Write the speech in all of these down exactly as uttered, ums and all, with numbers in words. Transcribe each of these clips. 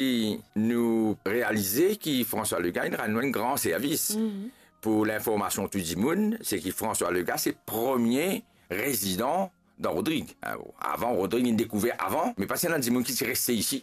e nou realize ki François Legain inn rann nou enn gran servis. Pou linformasion tou dimoun, se ki François Legain se premie rezidan dan Rodrig. Avan, Rodrig inn dekouver avan, me pa ti ena dimoun ki ti reste isi.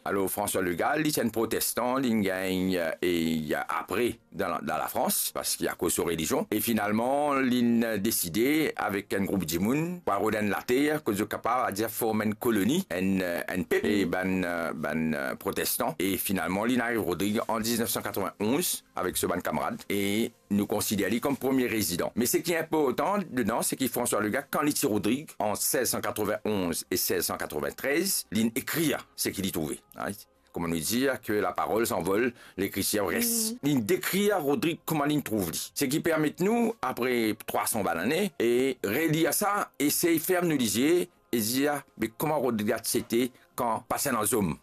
Alor, François Legain, li ti enn protestan, li gagn, e, apre dan, dan Lafrans, parski akoz so relizion. E finalman, linn deside avek enn group dimoun pou al rod enn later, kot zot kapav, a dir, form enn koloni, enn, enn pep, e bann, bann protestan. E finalman, linn ariv Rodrig an diznef san katreven-onz avek so bann kamarad. E nou konsider li kom premie rezidan. Me seki inportan dedan, se ki François Legain, kan li ti Rodrig, an sez san katreven-onz e sez san katreven-trez, linn ekrir seki li trouve. Kouma nou dir, que la parole s'envole, l'écriture reste. Linn dekrir Rodrig kouma linn trouv li. Seki permet nou, apre trwa san bann ane, e relir sa, esey ferm nou lizie, e dir, me kouma Rodrig ti ete kan pa ti ena zom.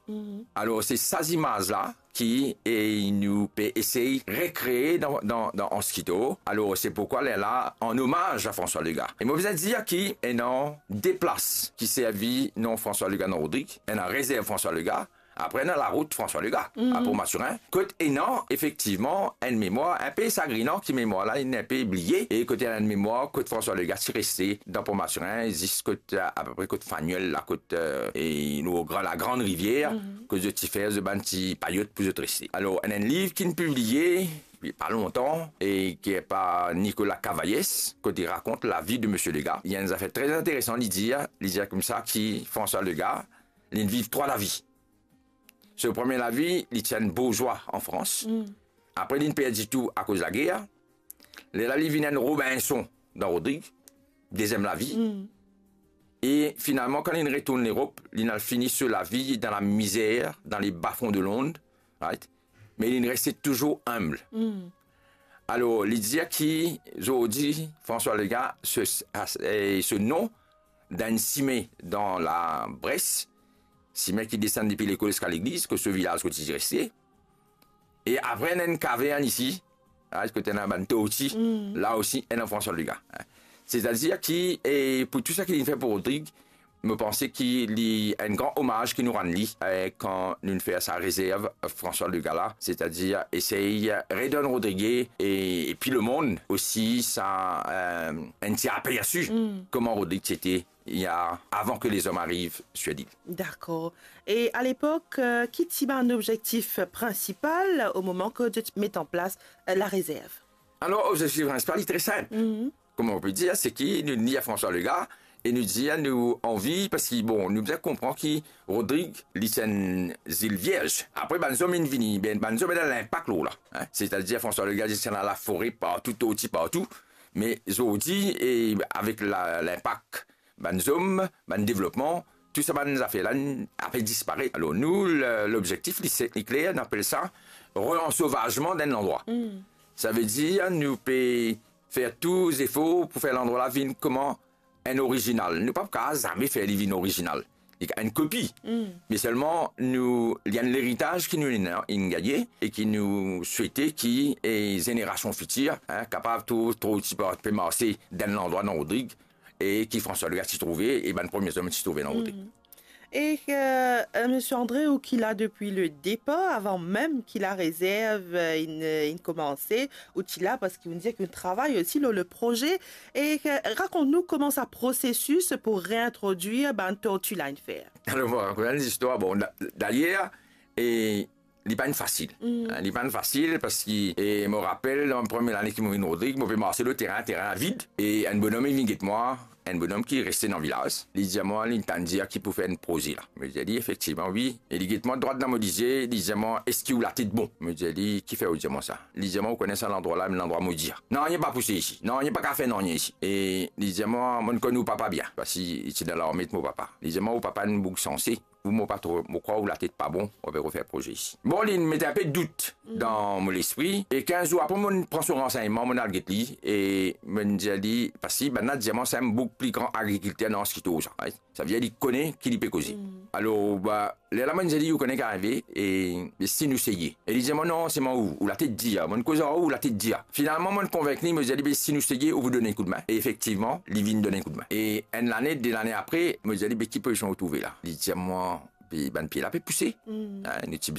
Alor, se sa zimaz la ki, e, nou pe esey rekree dan, dan, dan Anskito. Alor, se poukwa lerla, an omaz a François Legain. E mo bizin dir ki ena de plas ki servi non François Legain dan Rodrig, ena rezerv François Legain, apre ena larout François Legain, a Port Mathurin, kot ena efektivman enn memwar inpe sagrinan, ki memwar la inn inpe bliye, e kot ena enn memwar kot François Legain ti reste dan Port Mathurin, zis kot, apepre kot Fanuel la, kot, e, nou, gran, la Grande Rivière, kot zot ti fer zot bann ti payot pou zot reste. Alor, ena enn liv ki'nn pibliye, pa lontan, e ki par Nicolas Cavaillès, kot li rakont lavi de Monsieur Legain. Li ena enn zafer tre interesan, li dir, li dir koumsa ki François Legain, linn viv trwa lavi. So premie lavi, li ti enn bourzwa an Frans. Apre, linn perdi tou akoz lager. Lerla, li vinn enn Robinson dan Rodrig, deziem lavi. E finalman, kan linn retourn Lerop, linn al fini so lavi dan lamizer, dan le bas fond de Londres, right? Me linn reste touzour inb. Alor, li dir ki zordi, François Legain, se, e, se non dan enn simin dan Labres, simin ki desann depi lekol ziska legliz, kot so vilaz kot li ti reste. E apre, ena enn kavern isi, a, kot ena bann torti, la osi, ena François Legain. Setadir ki, e, pou tou sa ki linn fer pou Rodrig, mo panse ki li enn gran omaz ki nou rann li, e, kan nou fer sa rezerv François Legain la, setadir esey redonn Rodrig e, epi lemonn osi sa, e, enn ti apersi kouma Rodrig ti ete, ya, avan ke lezom ariv sir lil. Dakor. E a lepok, e, ki ti bann obzektif prinsipal o moman ke zot ti met an plas, e, larezerv? Alor, obzektif prinsipal, li tre sinp. Kouma nou pe dir, se ki nou, nou vinn François Legain, e nou dir nou anvi, parski, bon, nou bizin konpran ki Rodrig, li ti enn zil vierz. Apre, bann zom inn vini, be, bann zom ena linpak lor la, in. Setadir, François Legain, li ti ena lafore partou, torti partou. Me zordi, e avek la, linpak bann zom, bann devlopman, tou sa bann zafer la, inn ape disparet. Alor nou, le, lobzektif, li, se, li kler, nou apel sa reansovazman d'enn landrwa. Savedir, nou pe fer tou zefor pou fer landrwa la vinn kouma enn orizinal. Nou pa pou kapav zame fer li vinn orizinal. Li enn kopi. Me selman, nou, li enn leritaz ki nou inn, inn gagne e ki nou swete ki, e, zenerasion fitir, in, kapav trouv, trouv ti pe, pe marse d'enn landrwa dan Rodrig, e ki François Legain ti trouve, e bann premie zom ti trouve dan Rodrig. E, e, Monsieur André, ou ki la depi le depar, avan mem ki larezerv, e, inn, inn koumanse, ou ti la, parski ou dir ki ou travay osi lor le proze. E, e, rakont nou kouma sa prosesis pou reintrodwir bann torti la inn fer. Alor, mo rakont enn zistwar. Bon, da-, dayer, e, li pa enn fasil. In, li pa enn fasil parski, e, mo rapel, dan premie lane ki mo vinn Rodrig, mo pe marse lor terin, terin vid, e enn bonom, li vinn get mwa, enn bonom ki reste dan vilaz. Li dir mwa, li tann dir ki pou fer enn proze la. Mo dir li, efektivman, wi. E li get mwa drwat dan mo lizie, li dir mwa, eski ou latet bon? Mo dir li, kifer ou dir mwa sa? Li dir mwa, ou kone sa landrwa la, enn landrwa modi. Nanye pa pouse isi. Nanye pa kapav fer nanye isi. E li dir mwa, mo konn ou papa bien, parski li ti dan larme mo papa. Li dir mwa, ou papa enn boug sanse. Ou, mo pa tro, mo krwar ou latet pa bon, ou pe refer proze isi. Bon, li met inpe dout dan mo lespri, e kinz zour apre, mo pran so ransegnman, mo al get li, e mo dir li, parski bann la dir mwa se enn boug pli gran agrikilter dan Anskito sa, right? Savedir li kone ki li pe koze. Alor, ba, lerla mo dir li, ou kone ki arive, e, e si nou seye? E li dir mwa, non, se mwa ou, ou latet dir, mo koz ar ou, ou latet dir. Finalman, mo konvink li, mo dir li, be, si nou seye, ou pou donn enn koudmin. E efektivman, li vinn donn enn koudmin. E enn lane, de lane apre, mo dir li, be, ki pozision ou trouve la? Li dir mwa, be, bann pie la pe pouse. In, nou ti bizin